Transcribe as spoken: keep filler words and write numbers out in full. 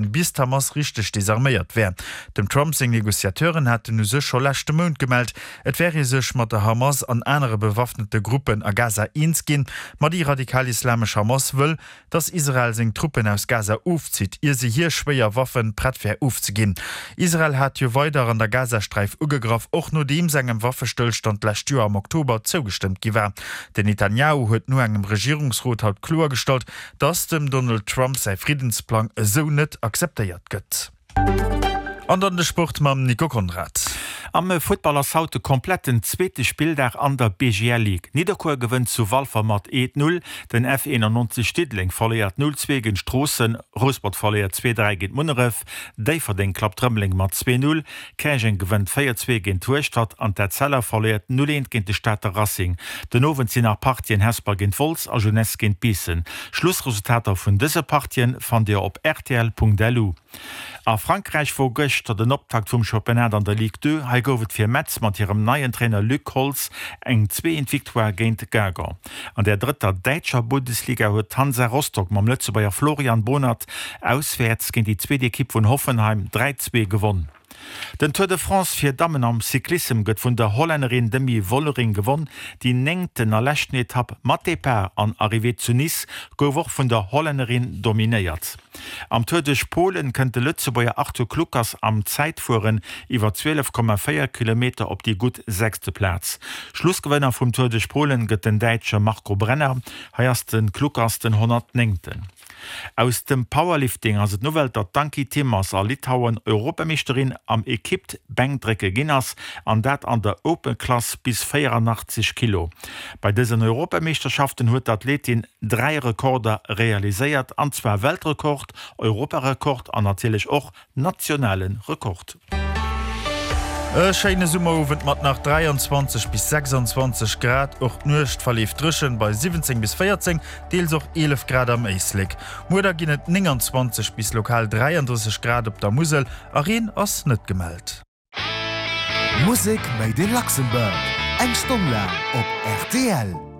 Bis d'Hamas richteg desarméiert wär. Dem Trump seng Negociateuren haten u sech scho leschte Mount gemellt, et wär ee sech mat der Hamas an anere bewaffnete Gruppen a Gaza eens ginn. Ma déi radikal-islamesch Hamas wëll, datt Israel seng Truppen aus Gaza ofzitt, ier se hir schwéier Waffe prett wär ofzeginn. Israel hat jo weider an der Gazasträif ugegraff, och nodeems engem Waffestëllstand d'lescht Joer am Oktober zougestëmmt gi war. Den Netanjahu huet no engem Regierungsrot haut kloergestallt, datt dem Donald Trump säi Friddensplang esou net akzeptéiert gëtt. An dann de Sport mam Nico Conrad. Am Futtball ass haut de kompletten zweete Spilldag an der B G L Ligue. Nidderkuer gewënnt zu Walfer mat eent Null, den F eenannonzeg Diddeleng verléiert null zwee géint Stroossen, Rouspert verléiert zwee dräi géint Munneref, Déifferdeng klappt Rëmeleng mat zwee null, Käerjeng gewënnt véier zwee géint Hueschtert an d'Etzella verléiert null eent géint de Stater Racing. Den Owend sinn nach Partien Hesper géint Wolz a Jeunesse géint Biissen. Schlussresultater vun dëse Partien fannt Dir op rtl punkt lu. A Frankräich wor gëschter den Optakt vum Championnat an der Ligue deux. Hei gouf et fir Metz mat hirem neien Trainer Luc Holtz eng zweeent Victoire géint Guingamp. An der drëtter däitscher Bundesliga huet d'Hansa Rostock mam Lëtzebuerger Florian Bohnert auswäerts géint déi zweet Ekipp vun Hoffenheim dräi zwee gewonn. Den Tour de France fir Dammen am Cyclissem gëtt vun der Hollännerin Demi Vollering gewonn. Déi néngten a leschten Etapp mat Depart an Arrivée zu Nice gouf och vun der Hollännerin dominéiert. Am Tour duerch Polen kënnt de Lëtzebuerger Arthur Kluckers am Zäitfueren iwwer zwielef Komma véier Kilometer op déi gutt sechste Plaz. Schlussgewënner vum Tour duerch Polen gëtt den Däitsche Marco Brenner. Hei ass de Kluckers den honnertnéngten. Aus dem Powerlifting ass et d'Nouvelle, datt d'Anki Timmers a Litauen Europameeschterin am Equipe-Bänkdrécke ginn ass, an dat an der Open-Klass bis véierannachtzeg Kilo. Bei dësen Europameeschterschaften huet d'Athletin dräi Rekorder realiséiert, an zwar Weltrekord, Europarekord an natierlech och nationale Rekord. E schéine Summerowend mat nach dräianzwanzeg bis sechsanzwanzeg Grad. Och d'Nuecht verleeft dréchen bei siwwenzéng bis véierzéng, deels och eelef Grad am Éislek. Muer da ginn et nénganzwanzeg bis lokal dräiandrësseg Grad op der Musel a Reen ass net gemellt. Musek made in Luxembourg, eng Stonn laang op R T L.